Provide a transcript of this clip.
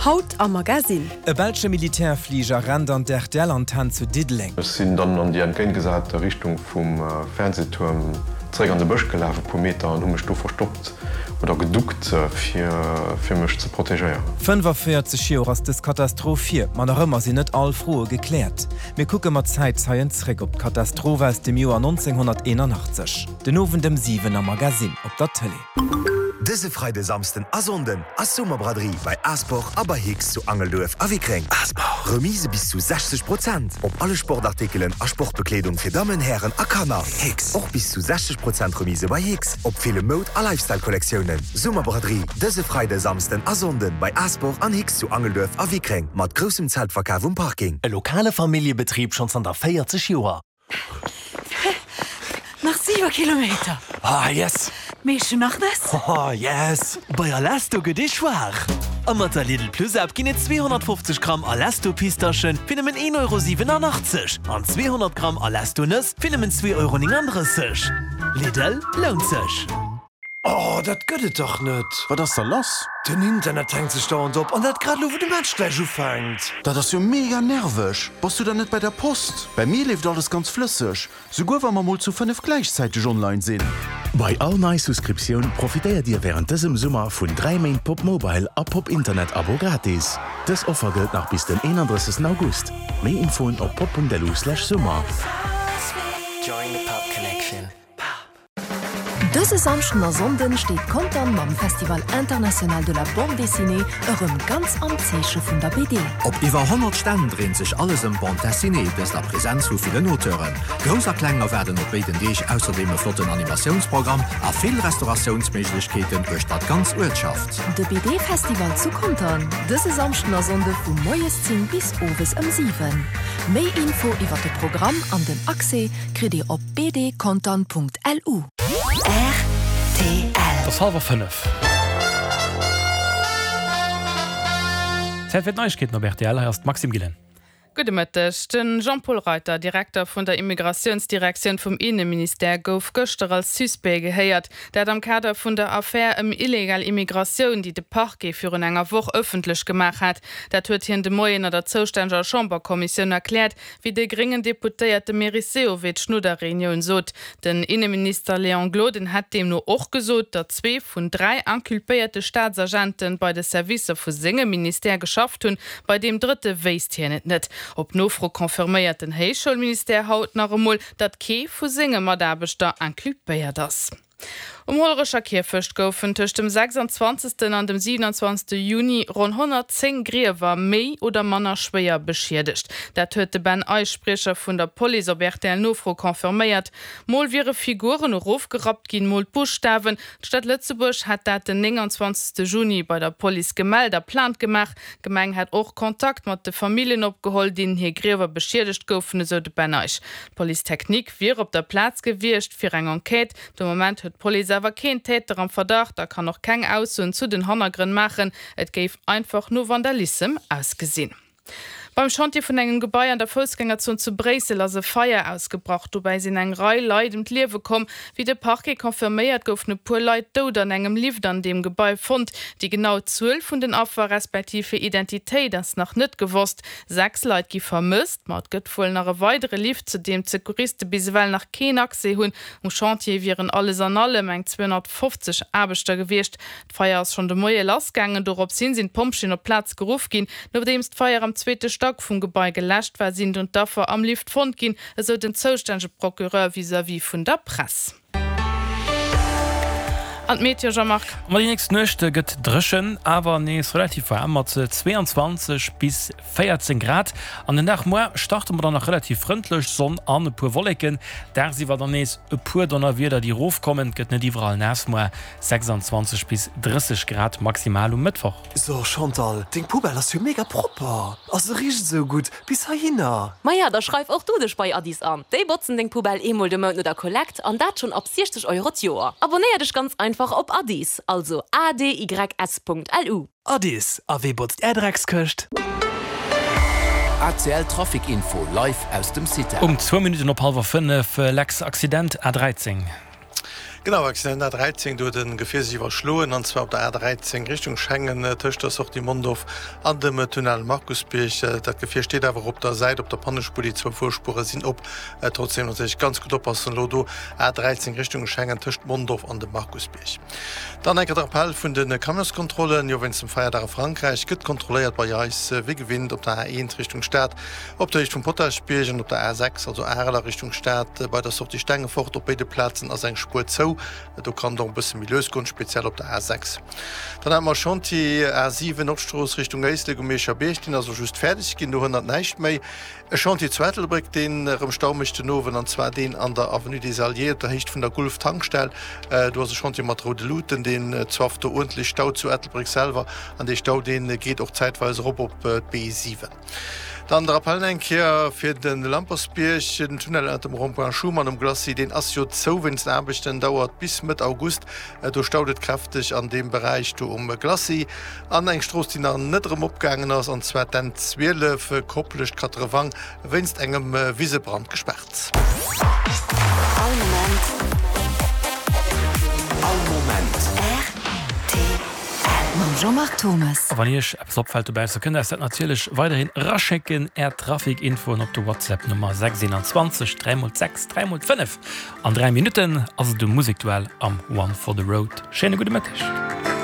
Haut am Magasinn. E belsche Militärfliger rennt an d'RTL-Antenn zu Diddeleng. Ech sinn dann an déi entgéintgesate Richtung vum Fernsehtuerm zeréck an de Bësch gelaf, e puer Meter, an hu mech do verstoppt oder geduckt, fir mech ze protegéieren. 45 Joer ass dës Katastroph hier, ma nach ëmmer sinn net all Froe gekläert. Mir kucke mat Zäitzeien zréck op d'Katastroph aus dem Joer 1981. Den Owend ëm 7 am Magasinn op der Tëlee. Dëse Freide, Samsden a Sonnden ass Summerbraderie bei Asport a bei Hicks zu Angelduerf a Wickreng. Asport! Remise bis zu 60 Prozent op alle Sportartikelen a Sportbekleedung fir Dammen, Hären a Kanner. Hicks! Och bis zu 60 Prozent Remise bei Hicks op ville Moud a Lifestyle-Kollektiounen. Summerbraderie dëse Freide, Samsden a Sonnden bei Asport an Hicks zu Angelduerf a Wickreng mat groussem Zeltverkaf um Parking. E lokale Familljebetrib schonn zanter 40 Joer. Nach 7 Kilometer. Ah yes! Mee ech hun nach Nëss. Oh yes! Bei Alesto gëtt ee schwaach! A mat der Lidl Plus App ginn et 250 Gramm Alesto Pistaschen fir nëmmen 1,87 Euro an 200 Gramm Alesto Nëss fir nëmmen 2,39 Euro. Lidl, lount sech! Oh, dat gëtt et dach net! Wat ass da lass? Den Internet hänkt sech dauernd op, an dat grad elo wou de Match gläich ufänkt. Dat ass jo mega nerveg! Bass du dann net bei der Post? Bei mir leeft alles ganz flësseg, souguer wa mer mol zu 5 gläichzäiteg online sinn. Bei all nei Souscriptioun profitéiert Dir wärend dësem Summer vun 3 Méint Pop Mobile a Pop Internet Abo gratis. Dës Offer gëllt nach bis den 31. August. Méi Infoen op pop.lu/summer. Dëse Samschden a Sonnden steet Contern mam Festival International de la Bande Dessinée erëm ganz am Zeeche vun der BD. Op iwwer 100 Stänn dréint sech alles ëm d'Bande Dessinée, dëst a Presenz vu villen Auteuren. Grouss a Kleng erwaarden op béiden Deeg ausserdeem e flotten Animatiounsprogramm a vill Restauratiounsméiglechkeeten uechter d'ganz Uertschaft. De BD-Festival zu Contern, dëse Samschden a Sonnde vu moies 10 bis owes ëm 7. Méi Info iwwer de Programm an den Accès kritt Dir op bdcontern.lu. Rtl. Et ass hallwer 5. Zäit fir d'Neiegkeeten op rtl. Hei ass d'Maxime Gillen. Gudde Mëtteg. De Jean-Paul Reiter, Direkter vun der Immigratiounsdirektioun vum Inneministère, gouf gëschter als Suspect gehéiert. Dat am Kader vun der Affär ëm illegal Immigratioun, déi de Parquet virun enger Woch ëffentlech gemaach hat. Dat huet hien de Moien an der zoustänneger Chamberkommissioun erkläert. Wéi de gréngen Deputéierte Meris Sehovic no der Reunioun sot. Den Inneminister Léon Gloden hätt deemno och gesot, datt zwee vun 3 inculpéierte Staatsagente bei de Servicer vu sengem Ministère geschafft hunn, bei deem drëtte wéisst hien et net. Op Nofro confirméiert den Héichschoulministère haut nach emol, datt kee vu senge Mataarbechter inculpéiert ass. Um Hollerecher Kierfecht goufen tëscht dem 26. an dem 27. Juni ronn 110 Griewer méi oder manner schwéier beschiedegt. Dat huet de Ben Eich, Spriecher vun der Police, op RTL-Nofro confirméiert. Mol wiere Figuren erofgerappt ginn, mol d'Buschtawen. D'Stad Lëtzebuerg hätt dat den 29. Juni bei der Police gemellt a Plainte gemaach. D'Gemeng hätt och Kontakt mat de Familljen opgeholl, deenen hir Griewer beschiedegt goufen, esou de Ben Eich. D'Police technique wier op der Plaz gewiescht fir eng Enquête. De Moment huet d'Police awer keen Täter am Verdacht a kann och keng Aussoen zu den Hannergrënn maachen. Et géif einfach no Vandalissem ausgesinn. Beim Chantier vun engem Gebai an der Foussgängerzon zu Bréissel ass e Feier ausgebrach. Dobäi sinn eng Rei Leit ëm d'Liewe komm. Wéi de Parquet confirméiert, goufen e puer Leit dout an engem Lift an deem Gebai fonnt. Déi genau Zuel vun den Affer, respektiv hir Identitéit ass nach net gewosst. 6 Leit gi vermësst, ma et gëtt wuel nach e weidere Lift, zu deem d'Secouriste bis ewell nach keen Accès hunn. Um Chantier wieren alles an allem eng 250 Aarbechter gewiescht. D'Feier ass schonn de Moie lassgaangen. Dorops hin sinn d'Pompjeeën op d'Plaz geruff ginn. Nodeems d'Feier am zweete Stack vum Gebai geläscht war, sinn dunn d'Affer am Lift fonnt ginn, esou den zoustännege Procureur vis-à-vis vun der Press. An d'Meteo, Jean-Marc? Ma déi nächst Nuecht gëtt dréchen, awer nees relativ waarm mat 22 bis 14 Grad. An den Dag muer starte mer dann nach relativ frëndlech, Sonn an e puer Wolleken. Dagsiwwer dann nees e puer Donnerwieder, déi erofkommen. Et gëtt net iwwerall naass muer, 26 bis 30 Grad maximal um Mëttwoch. So Chantal, deng Poubelle ass jo mega propper a se richt esou gutt bis heihinner. Maja, da schreif och du dech bei Addis an. Déi botzen deng Poubelle eemol de Mount no der Kollekt an dat schonn ab 60 Euro d'Joer. Abonnéier dech ganz einfach op Addis, also adys.lu. Addis, a wee botzt är Dreckskëscht? ACL Trafic Info live aus dem CITEL. Um zwou Minutten op hallwer 5, Lex Accident A 13. Genau, Accident A13, do huet e Gefier sech iwwerschloen, an zwar op der A13 Richtung Schengen, tëscht der Sortie Mondorf an dem Tunnel Markusbierg. Dat Gefier steet awer op der Säit op der Pannespuer, déi zwou Fuerspuere sinn op. Trotzdeem natierlech ganz gutt oppassen elo do, A13 Richtung Schengen tëscht Mondorf an dem Markusbierg. Dann enker de Rappell vun de Camionskontrollen, Jo, wéinst dem Feierdag a Frankräich gëtt kontrolléiert bei eis wéi gewinnt op der A1 Richtung Stad, Op der Héicht vum Potaschbierg an op der A6, also Arel a Richtung Stad, bei der Sortie Stengefort, op béide Plazen ass eng Spuer zou. Do kann et och e bësse méi lues goen, speziell op der A6. Dann hate mer Chantier A7, Nordstrooss Richtung Éislek um Mierscher Bierg, deen ass och just fäerdeg ginn, do hënnert näischt méi. E Chantier zu Ettelbréck, deen erëm Stau mécht den Owend, an zwar deen an der Avenue des Alliés op der Héicht vun der Gulf-Tankstell. Do ass e Chantier mat roude Luuten, deen zwafft do uerdentlech Stau zu Ettelbréck selwer, an dee Stau, dee geet och zäitweis erop op d'B7. Dann de Rappel eng Kéier fir de Lampersbierg, Den Tunnel ënnert dem Rond-point Schuman um Glacis, deen ass jo zou wéinst Aarbechten, dauert bis Mëtt August. Do staut et kräfteg an deem Beräich do um Glacis. An eng Strooss, déi nach net erëm opgaangen ass, an zwar d'N 12, Koplescht, Katrewang, wéinst engem Wisebrand gespaart. All Moment. All Moment. Rtl. Mam Jean-Marc Thomas. A wann Iech eppes opfält dobausse, kënnt Dir eis dat natierlech weiderhin eraschécken, Är Trafic-Infoen op de WhatsApp Nummer 6 21 3 x 6 3 x 5. An 3 Minutten ass et um Musekduell am One for the Road. Schéine gudde Mëtteg.